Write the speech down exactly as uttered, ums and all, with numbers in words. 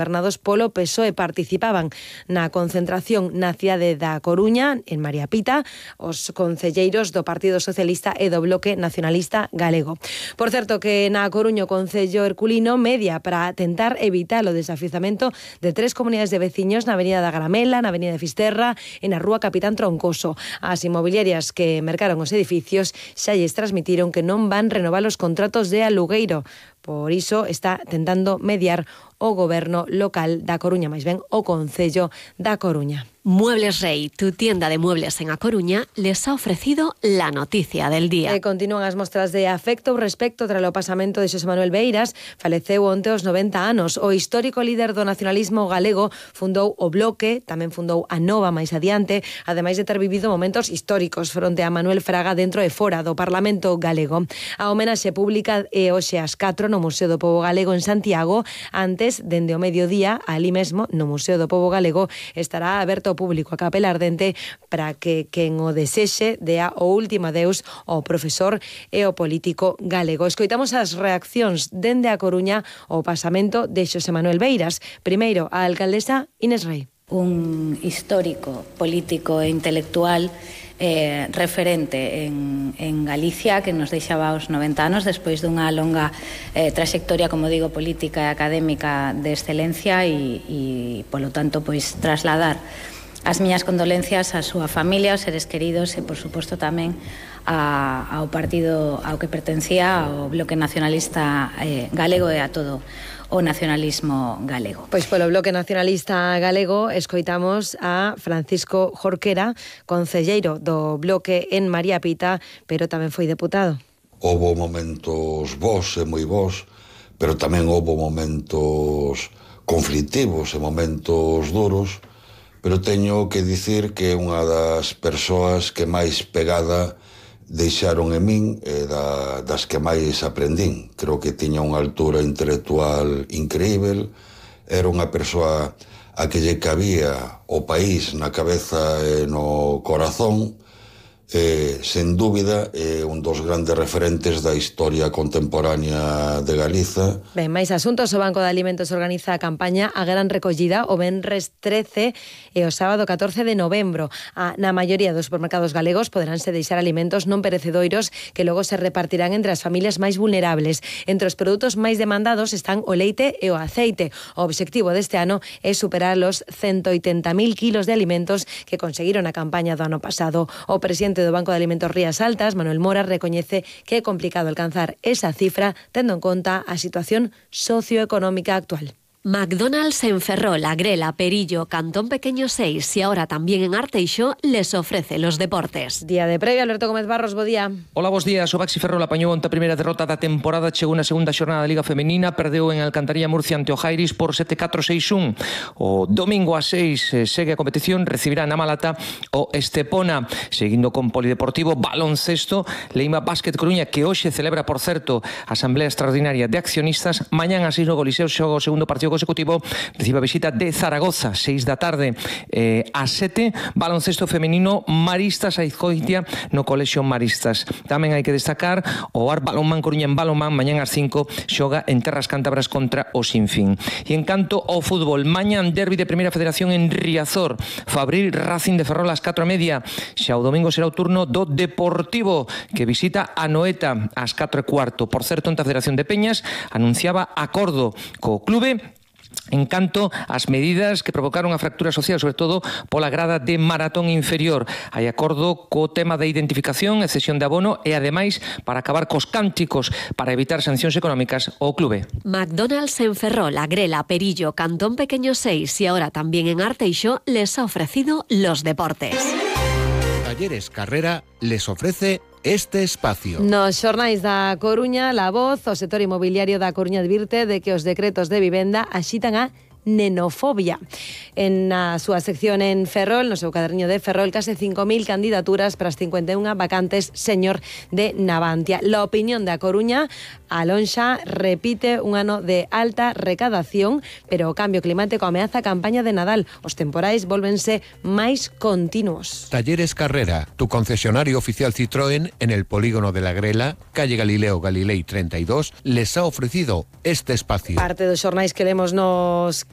gobernados polo P S O E participaban na concentración na cidade da Coruña, en María Pita, os concelleiros do Partido Socialista e do Bloque Nacionalista Galego. Por certo, que na Coruña o Concello Herculino media para tentar evitar o desafiuzamento de tres comunidades de veciños na Avenida da Gramela, na Avenida de Fisterra e na Rúa Capitán Troncoso. As inmobiliarias que mercaron os edificios xa lles transmitiron que non van renovar os contratos de alugueiro. Por iso está tentando mediar o goberno local da Coruña, máis ben o Concello da Coruña. Muebles Rey, tu tienda de muebles en A Coruña, les ha ofrecido la noticia del día. E continúan as mostras de afecto ao respecto tras o pasamento de Xosé Manuel Beiras. Faleceu onte aos noventa anos. O histórico líder do nacionalismo galego fundou o Bloque, tamén fundou a Nova máis adiante, ademais de ter vivido momentos históricos fronte a Manuel Fraga dentro e fora do Parlamento galego. A homenaxe pública é hoxe ás catro no Museo do Pobo Galego en Santiago. Antes, dende o mediodía, ali mesmo, no Museo do Pobo Galego, estará aberto ao público a capela ardente para que quen o desexe dea o último adeus ao profesor e ao político galego. Escoitamos as reaccións dende a Coruña ao pasamento de Xosé Manuel Beiras. Primeiro, a alcaldesa Inés Rei. Un histórico, político e intelectual eh, referente en, en Galicia, que nos deixaba aos noventa anos despois dunha longa eh, trayectoria, como digo, política e académica de excelencia e, e polo tanto, pois, trasladar as miñas condolencias á súa familia, aos seres queridos e, por suposto, tamén a, ao partido ao que pertencía, ao Bloque Nacionalista eh, Galego e a todo o nacionalismo galego. Pois polo Bloque Nacionalista Galego escoitamos a Francisco Jorquera, concelleiro do Bloque en María Pita, pero tamén foi deputado. Houbo momentos bons e moi bons, pero tamén houbo momentos conflitivos e momentos duros, pero teño que dicir que unha das persoas que máis pegada deixaron en min e da, das que máis aprendín. Creo que tiña unha altura intelectual increíble, era unha persoa a que lle cabía o país na cabeza e no corazón, eh, sen dúbida é un dos grandes referentes da historia contemporánea de Galiza. Ben, máis asuntos. O Banco de Alimentos organiza a campaña A Gran Recollida o venres trece e o sábado catorce de novembro. A, na maioría dos supermercados galegos poderánse deixar alimentos non perecedoiros que logo se repartirán entre as familias máis vulnerables. Entre os produtos máis demandados están o leite e o aceite. O obxectivo deste ano é superar os ciento oitenta mil kilos de alimentos que conseguiron a campaña do ano pasado. O presidente do Banco de Alimentos Rías Altas, Manuel Mora, recoñece que é complicado alcanzar esa cifra tendo en conta a situación socioeconómica actual. McDonald's en Ferrol, Agrela, Perillo, Cantón Pequeño seis y ahora también en Arteixo les ofrece los deportes. Día de previa, Alberto Gómez Barros, bo día. Hola, bos días. O Baxi Ferrol apañou onte a primeira derrota da temporada, chegou na segunda xornada da Liga Femenina, perdeu en Alcantarilla Murcia ante o Jairis por sete catro seis un. O domingo a seis eh, segue a competición, recibirá na Malata o Estepona, seguindo con Polideportivo, baloncesto, Leima Básquet Coruña, que hoxe celebra, por certo, a Asamblea Extraordinaria de Accionistas. Mañán a seis no Coliseo xoga o segundo partido consecutivo, recibe a visita de Zaragoza, seis da tarde eh, a sete, baloncesto femenino, Maristas a Izcoitia no Colexio Maristas. Tamén hai que destacar o Ar Balonmán Coruña en Balonmán, mañán ás cinco xoga en Terras Cántabras contra o Sinfín. E en canto ao fútbol, mañán derbi de Primeira Federación en Riazor, Fabril Racing de Ferrol ás catro e media, xa o domingo será o turno do Deportivo, que visita a Noeta ás catro e cuarto. Por certo, ante a Federación de Peñas anunciaba acordo co clube en canto ás medidas que provocaron a fractura social, sobre todo pola grada de maratón inferior. Hai acordo co tema da identificación e cesión de abono e, ademais, para acabar cos cánticos para evitar sancións económicas ao clube. McDonald's en Ferrol, Agrela, Perillo, Cantón Pequeño seis y ahora también en Arteixo les ha ofrecido los deportes. Talleres Carrera les ofrece este espacio. Nos xornais da Coruña, La Voz, o sector inmobiliario da Coruña advirte de que os decretos de vivenda axitan a nenofobia. En a súa sección en Ferrol, no seu caderniño de Ferrol, case cinco mil candidaturas para as cincuenta e unha vacantes señor de Navantia. La opinión da Coruña, a lonxa repite un ano de alta recadación, pero o cambio climático ameaza a campaña de Nadal. Os temporais volvense máis continuos. Talleres Carrera, tu concesionario oficial Citroën en el polígono de la Grela, calle Galileo Galilei treinta y dos, les ha ofrecido este espacio. Parte dos xornais que lemos nos